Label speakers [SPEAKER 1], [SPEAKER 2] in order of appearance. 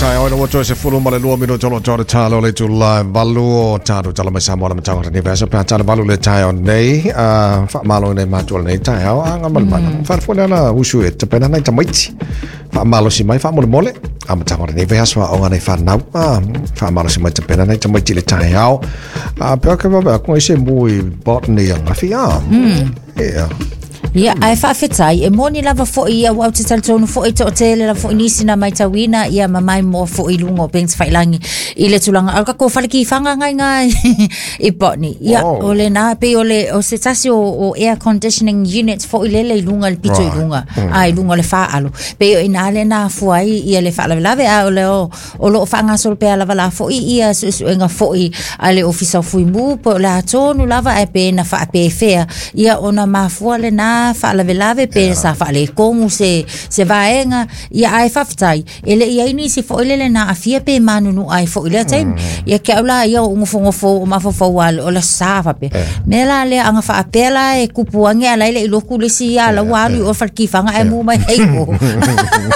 [SPEAKER 1] Taeao ina ua toe 12 minute o lo o le talo le itula e 8 o tatou tala mai Samoa le mataga lenei vaiaso pe a tala 8 le taeao nei faamalo i nai matua lenei taeao a ngamalemala whaafo le ala usu e tapena nai tamaiti faamalosi mai faamolemole amataga o lenei vaiaso aoga nai fanau faamalosi mai tapena nai tamaiti le taeao a pea ke wawe aku ai se mu i botany angafi a yeah.
[SPEAKER 2] Ia, ae faafetai, e moni lava foi ia, aua ou te talitonu foi e toatele lava foi nisi na maitauina ia ma maimoa foi i luga o upega tafailagi i le tulaga o le tatou fale kifaga ngai iga i Botany. Ia, o lena, pei o le o se tasi o, o air conditioning unit foi lele i luga i le pito i luga, a i luga o le faalo. Pei o i ina lea na afua ai ia le faalavelave, a o le o O lo o faagasolo pea lava la foi ia suesuega foi a le Ofisa o Fuimu po o le a tonu lava ae pe na faapefea ia ona mafua lena faalavelave pe yeah. sa faaletonu se, se vaega ia ae faafetai e le i ai nisi foi lele na aafia pe manunu ai foi lea taimi ia ke au la ia o nofonofo o mafaufau a o le sa faapea yeah. mea la lea aga faapea la e kupu ane ala i le i loku le isi ia la ua alu i o fale kifaga ae mu mai ai o.